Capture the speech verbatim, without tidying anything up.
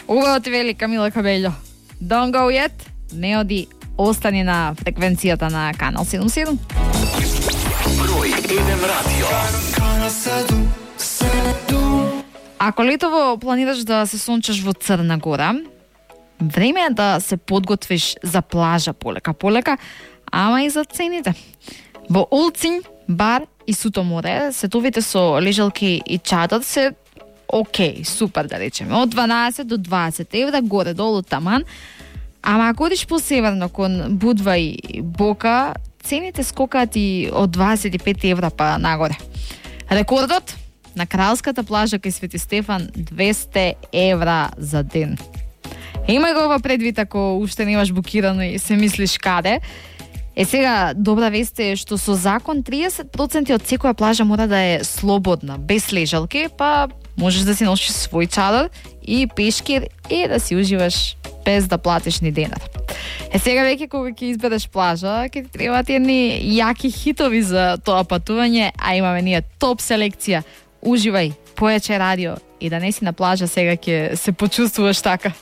Убаво ти вели Камила Кабелјо. Don't go yet, не оди, остани на фреквенцијата на Канал седум седум. Број еден радио. Ако летово планираш да се сончаш во Црна Гора, време е да се подготвиш за плажа полека полека, ама и за цените. Во Олцин, бар и Суто море, сетовите со лежалки и чадар се окей, супер да речеме, од дванаесет до дваесет евра, горе-долу таман, ама ако одиш посеверно кон Будва и Бока, цените скокаат и од дваесет и пет евра па нагоре. Рекордот на кралската плажа кај Свети Стефан двесте евра за ден. Имај го ова предвид ако уште немаш букирано и се мислиш каде. Е сега, добра вест е што со закон триесет проценти од секоја плажа мора да е слободна, без лежалки, па можеш да си носиш свој чадар и пешкир и да си уживаш без да платиш ни денар. Е сега веќе кога ќе избереш плажа, ќе ти требаат едни јаки хитови за тоа патување, а имаме ние топ селекција. Уживај, појаче радио и да не си на плажа сега ќе се почувствуваш така.